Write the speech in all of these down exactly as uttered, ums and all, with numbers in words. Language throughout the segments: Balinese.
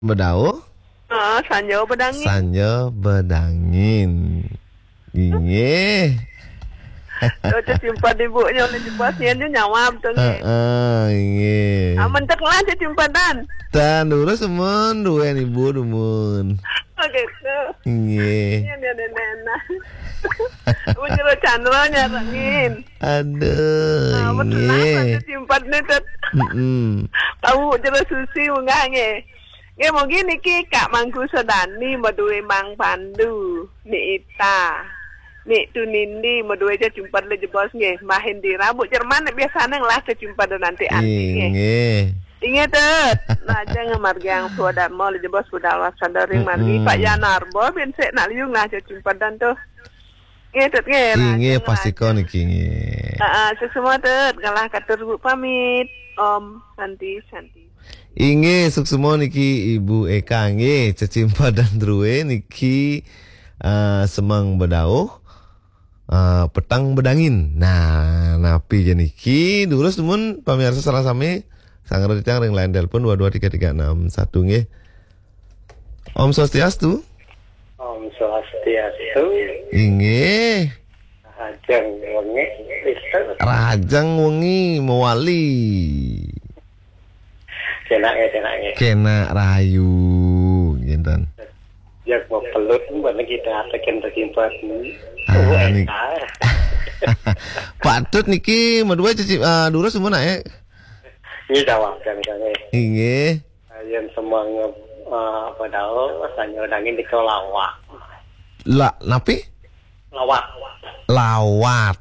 Bedauh. Ah, sanja bedangin. Sanja bedangin. Inggih. Cecimpedan ibu nya ulih jebos nyen nyawab tu nggih. Heeh, inggih. Ah, mentek lah cecimpedan. Tan durus mun duwen ibu dumun. Oh, gitu. Inggih. Nyen, nyen, nyen, nyen. Mun jero Chandra nyarengin. Aduh, ah, betul lah, inggih. Cecimpedan ni, Tut. Mm-mm. Tahu jero Susi munggah nggih. Nggih, mugi niki Kak Mangku Sodani madue Mang Pandu, Ni Ita, Ni Tunindi madue cecimpedan le jebos nggih, Mbah Indira, Bu Jerman biasane ngelah cecimpedan anti-anti nggih. Inggih. Inggih, Tut. Lajeng margiang swadarma le jebos budal waspada ring margi. Mm-mm. Pak Yanarba bin sik nak liu ngelah cecimpedan tuh. Nggih, Tut, nggih. Inggih, lajeng pastika niki nggih. Heeh, suksma, Tut. Kalah katur Bu pamit. Om Santi, Santi. Inggih, suksma niki Ibu Eka nggih, cecimpedan drue niki, eh, semeng bedauh, eh, petang bedangin. Nah, napi ja niki? Durus dumun pamiarsa sareng sami, sanggra titiang ring line telepon dua dua tiga tiga enam satu nggih. Om Swastiastu. Om Swastiastu. Inggih. Rahajeng wengi, Mister. Rahajeng wengi mewali. Kenak ya, kenak ya. Kenak rahayu, nggih, Tan. Jak mau pelut, mana kita tekan tersimpan. Ah, wah, ni. Patut niki madue cecip, ah, durus mun, eh. Ini jawab kan, kan, eh. Inggih. Yen semeng, eh, bedauh, sanja bedangin nika lawat. La, napi? Lawat. Lawat.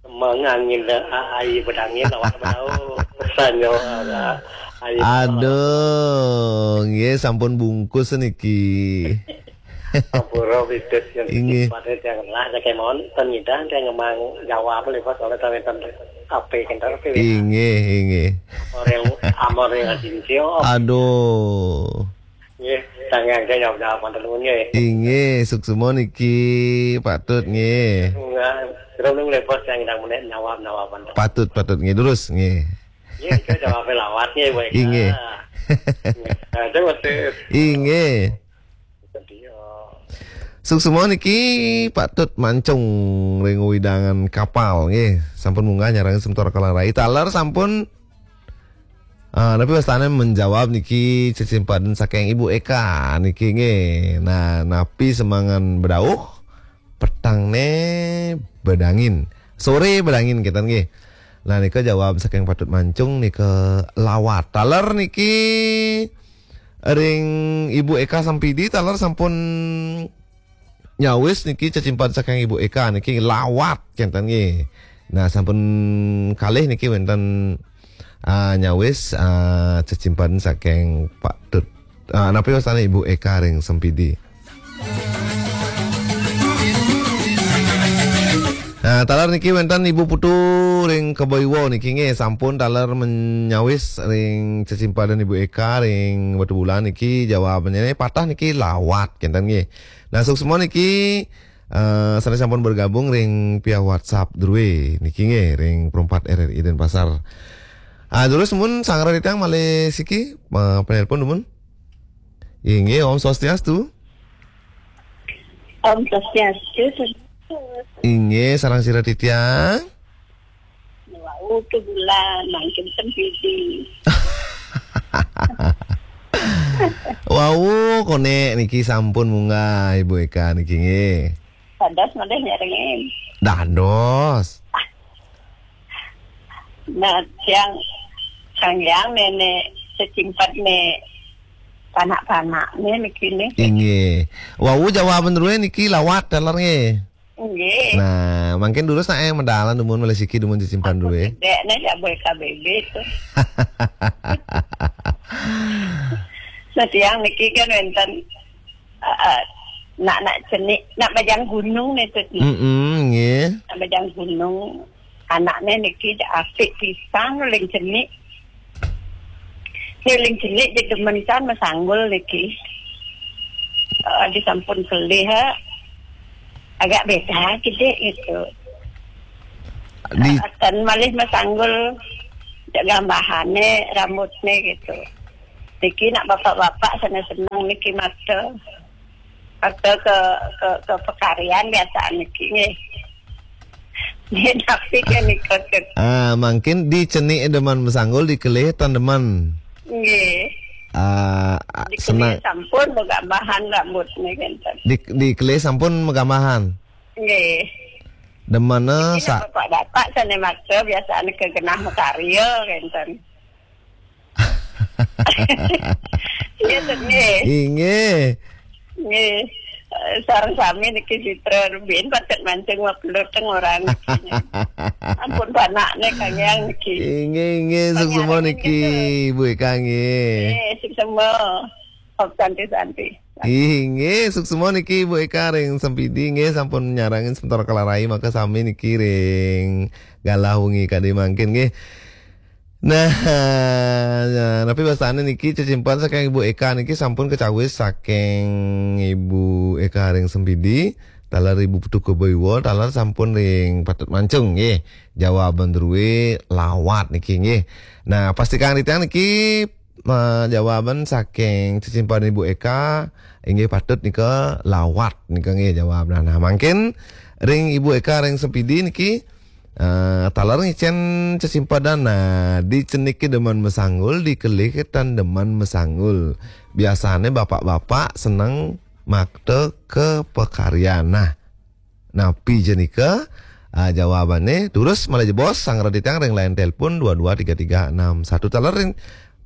Semeng angin, eh, ai bedangin lawat bedauh. Sanja, eh, ai. Aduh, nggih sampun bungkus niki. Ampura, Bibit, yen inggih. Sifate tiang lah, saking mawon, ten ngidah, tiang ngemang jawab, le, Bos, oleh ten wenten ape, kenten ape, ya. Inggih, inggih. Amore, amore, Adintya. Aduh. Nggih, sangang saya jawab, jawab, wonten nuwun, nggih. Inggih, suksma niki, patut, nggih. Enggak, terus nunggu, le, Bos, yang ndang menek jawab, jawab, wonten. Patut, patut, nggih, durus, nggih. Nggih, itu jawab lawat, nggih, Bu Eka. Inggih. Nggih. Nah, itu waktu inggih. Suksma niki patut mancung ring wewidangan kapal nggih. Sampun munggah nyarengin semeton Kalang Rai. Taler sampun, ah, napi wastane menjawab niki cecimpedan saking Ibu Eka niki nggih. Nah, napi semengan bedauh, petangne bedangin. Sore bedangin kenten nggih. Nah, nika jawab saking patut mancung nika lawat. Taler niki ring Ibu Eka Sempidi, taler sampun nyawis niki cecimpedan saking Ibu Eka niki lawat kenten nggih. Nah, sampun kalih niki wenten, ah, nyawis, ah, cecimpedan saking Pak Tut. Ah, napi wastane Ibu Eka ring Sempidi? Nah, taler niki wenten Ibu Putu ring Kebaiwa niki nggih, sampun taler menyawis ring cecimpedan Ibu Eka ring Batubulan niki, jawabane patah niki lawat kenten nggih. Nah, suksma niki, eh, sane sampun bergabung ring via WhatsApp drue niki nggih, ring perempat R R I Denpasar. Ah, durus mun sanggra titiang malih siki, eh, penelpon dumun. Inggih, Om Swastiastu. Om Swastiastu, Swastiastu. Inggih, sareng sira titiang? Wau, Batubulan, mangkin Sempidi. Wau, konek niki sampun munggah Ibu Eka niki nggih. Dados malih nyarengin. Dados. Nah, tiang, kang yang nenek secimpat ne panak-panak ne niki ne. Inggih. Wau, jawaban drue niki lawat taler nggih. Nggih. Nah, mangkin durus nak yang medalan dumun malih siki dumun cecimpedan drue. Dek ne ya boy K B B tu. Nah, tiang niki kan wenten, eh, eh, nak, nak cenik, nak majang gunung ne tu. Mm-mm, nggih. Nak majang gunung. Anakne niki apik pisan uling cenik. Uling cenik demen pisan masanggul niki. Eh, disampun kelih, ha. Agak beda kidik gitu. Di- Eh, ten malih masanggul, cek gambahane, rambutne gitu. Niki nak bapak-bapak sané seneng niki makta. Makta ke, ke, ke pakaryan biasa niki nggih. Nggih, tapi kan nika. Ah, mangkin di cenik demen mesanggul, di kelih tan demen. Nggih. Ah, di kelih senang. Sampun magambahan rambut niki kan. Di, di kelih sampun magambahan. Nggih. Demen. Niki sa- nak bapak-bapak sané makta biasa niki genah makarya kan. Nggih, Tut, nggih. Inggih. Nggih. Eh, sareng sami niki Sitra Rubin patut mancing mapelut teng orang niki. Ampun panakne kangyang niki. Inggih, inggih, suksma niki, Bu Eka, nggih. Nggih, suksma. Om Santi, Santi. Inggih, suksma niki, Bu Eka ring Sempidi, nggih, sampun nyarengin sementara kalarai maka sami niki ring galah wengi kadi mangkin, nggih. Nah, nah, napi wastané niki cecimpedan saking Ibu Eka niki sampun kacawis saking Ibu Eka ring Sempidi, taler Ibu Putu Kebaiwa, taler sampun ring patut mancung nggih. Jawaban drué lawat niki nggih. Nah, pastikang titiang niki, eh, jawaban saking cecimpedan Ibu Eka inggih patut nika lawat nika nggih jawab. Nah, nah, mangkin ring Ibu Eka ring Sempidi niki, eh, taler ngicén cecimpedan. Nah, di cenike demen mesanggul, di kelih tan demen mesanggul. Biasane bapak-bapak seneng makta ke pakaryan. Nah, napi ja nika? Ah, jawabannya, terus malih jebos, sanggra titiang ring line telepon dua dua tiga tiga enam satu, taler ring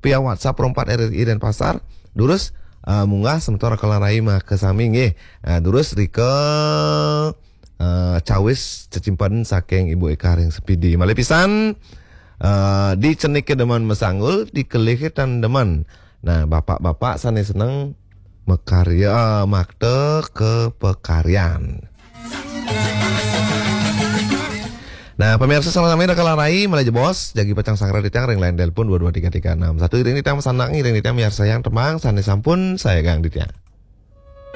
via WhatsApp Pro empat R R I Denpasar. Terus, ah, munggah semeton kalarai maka sami nggih. Ah, terus rika, ah, cawis cecimpedan saking Ibu Eka ring Sempidi. Malih pisan, ah, di cenike demen mesanggul, di kelih tan demen. Nah, bapak-bapak sane seneng makarya, makta ke pakaryan. Nah, pemirsa, sama-sama ida kalarai, malih jebos, jagi pacang sanggra titiang ring line telepon dua dua tiga tiga enam satu, iring titiang masanak, iring titiang miarsayang tembang sane sampun sayagang titiang.